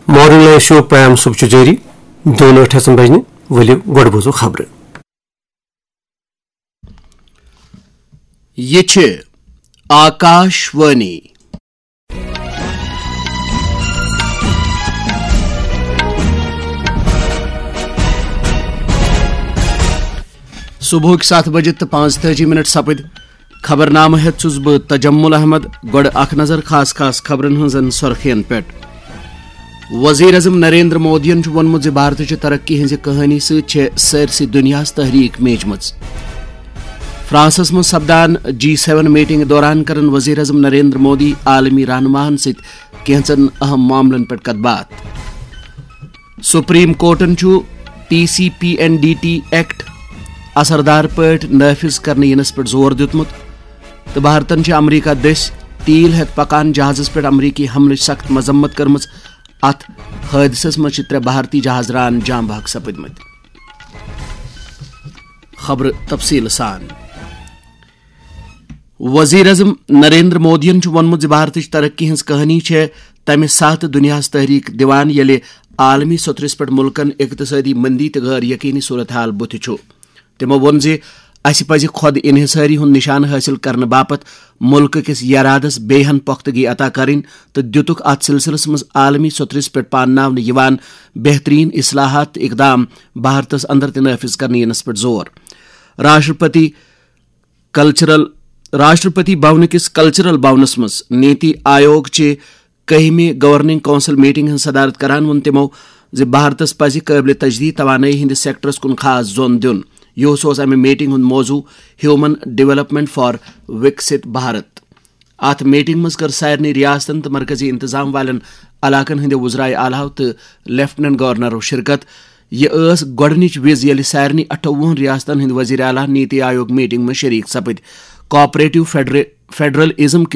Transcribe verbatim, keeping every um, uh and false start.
Morning live show پیم صبح چھُ جٲری دۄن ٲٹھ ہٮ۪ژن بجنہِ۔ ؤلِو گۄڈٕ بوزو خبرٕ۔ یہِ چھِ آکاش وانی۔ صبحٕکۍ ستھ بجہِ تہٕ پانٛژتٲجی منٹ سپٕدۍ۔ خبرنامہٕ ہٮ۪تھ چھُس بہٕ تجمل احمد۔ گۄڈٕ اکھ نظر خاص خاص خبرن ہٕنٛزن سۄرخین پٮ۪ٹھ۔ وزیر اعظم نریندر مودیَن چھُ ووٚنمُت زِ بھارتٕچہِ ترقی ہٕنٛزِ کہانی سۭتۍ چھےٚ سٲرسٕے دُنیاہَس تحریک میجمٕژ۔ فرانسس منٛز سپدان جی سیون میٹنگ دوران کرن وزیر اعظم نریندر مودی عالمی رہنماہن سۭتۍ کینٛژن اہم معاملن پٮ۪ٹھ کتھ باتھ۔ سپریم کورٹن چھُ T C P N D T act اثردار پٲٹھۍ نافذ کرنہٕ ینس پٮ۪ٹھ زور دیُتمُت تہٕ بھارتن چھِ امریکہ دٔسۍ تیل ہٮ۪تھ پکان جہازس پٮ۪ٹھ امریکی حملٕچ سخت مذمت کٔرمٕژ۔ اتھ حٲدثس منٛز چھِ ترٛےٚ بھارتی جہاز ران جاں بحق سپٕدمٕتۍ۔ خبرٕ تفصیٖل سان۔ وزیر اعظم نریندر مودیَن چھُ ووٚنمُت زِ بھارتٕچ ترقی ہٕنٛز کہانی چھےٚ تَمہِ ساتہٕ دُنیاہَس تحریک دِوان، ییٚلہِ عالمی سطرس پٮ۪ٹھ مُلکَن اقتصٲدی مندی تہٕ غٲر یقینی صورتحال بُتھِ چھُ۔ تِمَو ووٚن زِ اَسہِ پَزِ خۄد انحصٲری ہُنٛد نشانہٕ حٲصِل کرنہٕ باپتھ مُلکہٕ کِس یرادَس بیٚیہِ ہن پۄختگی عطا کرٕنۍ تہٕ دِتُکھ اَتھ سلسلس منٛز عالمی سطرس پٮ۪ٹھ پانناونہٕ یِوان بہترین اصلاحات تہٕ اقدام بھارتَس اندر تہِ نافذ کرنہٕ یِنَس پٮ۪ٹھ زور۔ راشٹرپتی کلچرل راشٹرپتی بھونہٕ کِس کلچرل بھونس منٛز نیتی آیوگ چہِ کٔہمہِ گورننگ کونسل میٹنگ ہٕنٛز صدارت کران ووٚن تِمو زِ بھارتس پزِ قٲبلِ تجدید توانٲیی ہٕنٛدِس سیکٹرس کُن خاص زون دیُن۔ یُہُس اوس امہِ میٹنگ ہُنٛد موضوع ہیومن ڈیولپمنٹ فار وکسِت بھارت۔ اتھ میٹنگ منٛز کٔر سارنٕے ریاستن تہٕ مرکزی انتظام والٮ۪ن علاقن ہٕنٛدِ وزرائے اعلیٰ تہٕ لیفٹیننٹ گورنرو شرکت۔ یہِ ٲس گۄڈٕنِچ وِز، ییٚلہِ سارنٕے اَٹھووُہن ریاستن ہٕنٛدۍ وزیر اعلیٰ نیتی آیوگ میٹنگ منٛز شریک سپٕدۍ۔ کوآپریٹو فیڈرے-، فیڈرل ازم کِس